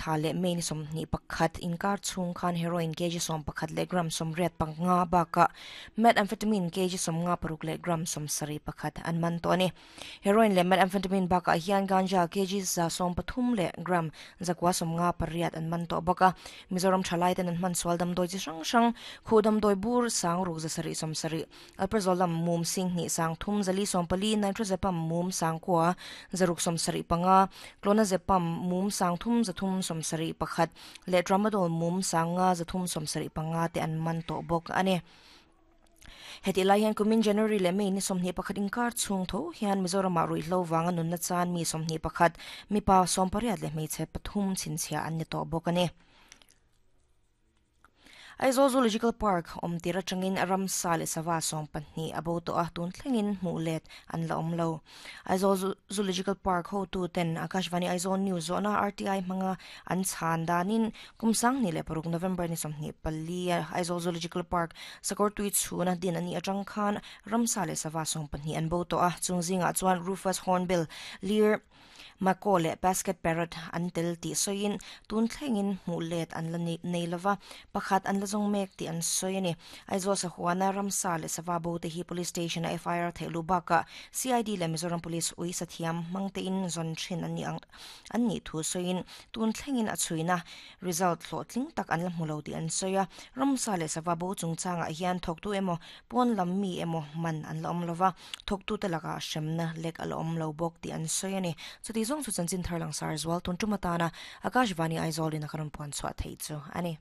thla leh May ni 21 inkar chhung khan heroin kg 11 leh gram 85 bakah methamphetamine kg 56 leh gram 71 an man tawh a ni. Heroin leh methamphetamine bakah hian ganja kg 130 leh gram 958 an man tawh bawk a. Mizoram thalai ten an hman sual damdawi chi hrang hrang, khuh damdawi bur sang ruk 770, Alprazolam mum sing hnih sang thum zali 14, Nitrazepam mum sang kua zaruk 75, Clonazepam mum sang thum zathum 71 leh Tramadol mum sang nga zathum 75 te an man tawh bawk a ni. Hetih lai hian kumin January leh May ni 21 inkar chhung tho hian Mizoramah ruihhlo vanga nunna chan mi 21, mipa 18 leh hmeichhe pathum chhinchhiah an ni tawh bawk a ni. Aizawl Zoological Park awm tir atangin ramsa leh sava 12 a bo tawh a, tun thlengin hmuh let an la awm lo. Aizawl Zoological Park hotu ten Akashvani Aizawl News zawhna RTI hmanga an chhan danin kum 2006 November ni 24 Aizawl Zoological Park sakawr tui chhuna din a nih atang khan ramsa leh sava 12 an bo tawh a, chung zingah chuan Rufous Hornbill, Lear, Macaw leh Basket Parrot an tel tih sawiin tun thlengin hmuh let an la nei lova, pakhat an la zawng mek tih an sawi a ni. Aizawl sahuana ramsa leh sava bo te hi Police Station a FIR theih luh bakah CID leh Mizoram Police ui sathiam hmang tein zawn thin an nih ang an nih thu sawiin tun thlengin a chhuina result hlawhtling tak an la hmu lo tih an sawi a. Ramsa leh sava bo chungchangah hian thawktu emaw pawn lam mi emaw man an la awm lova. Thawktute lakah hremna lek a la awm lo bawk tih an sawi a ni. Chuti zawng chu chanchin thar langsar zual tun tum atana Akashvani Aizawl in a ka rawn puan chhuah theih chu a ni.